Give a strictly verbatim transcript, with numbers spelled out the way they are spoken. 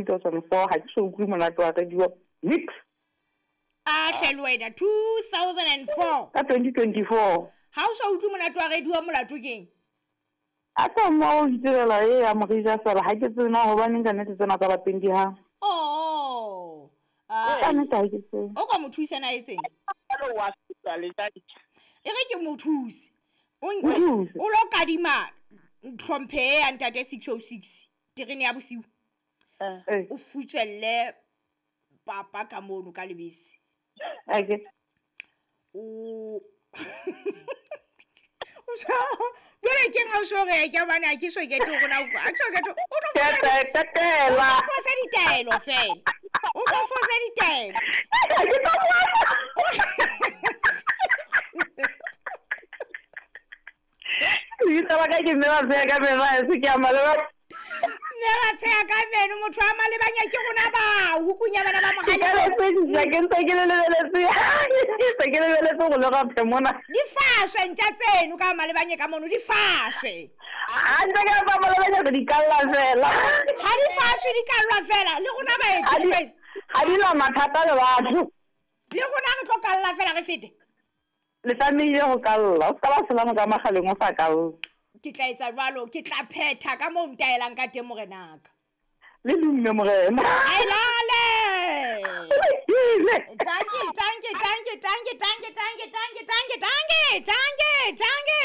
two thousand four ha ke so utlwe monate wa radio nix. A hle le wena two thousand four. Ka twenty twenty-four. Ha o sa utlwe monate wa radio molato keng? A ka mo o itirela e ya morija fela ha ke tsena hobaneng ka nnete tsena tsa lapeng di ha. Oh. Ah. Ka nnete ha ke tsebe. O ka mo thusa na etseng? E re ke mo thuse. O o lo kadima tlhomphe ya ntate six oh six terene ya bosiu. Eh. O futselle papa ka mono ka lebese. Okay. O jwale ke nka so re ke bana ke so ke tlo rona a ke so ke tlo o tlo tetela fosa ditaelo fela o tlo fosa ditaelo ke tlo ke tla ka ke mela tsaya ka mena se ke a maleba mela tsaya ka meno motho a malebanya ke rona ba hukunya bana ba ke le ke ntse ke le lebeletse ke ke lebeletse go le ga phemona di fashwe ntja tseno ka malebanye ka mono di fashwe a ntse ke ba malebanya di kalla fela ha di fashwe di kallwa fela le rona ba etse ha di la mathata le batho le rona re tlo kalla fela re fete le tlamehile go kalla o ska ba selamo ka magaleng o sa kalla ke tla etsa jwalo ke tla phetha ka moo ntaelang ka teng morenaka le dumme morena ai lale tanki tanki tanki tanki tanki tanki tanki tanki tanki tanki tanki.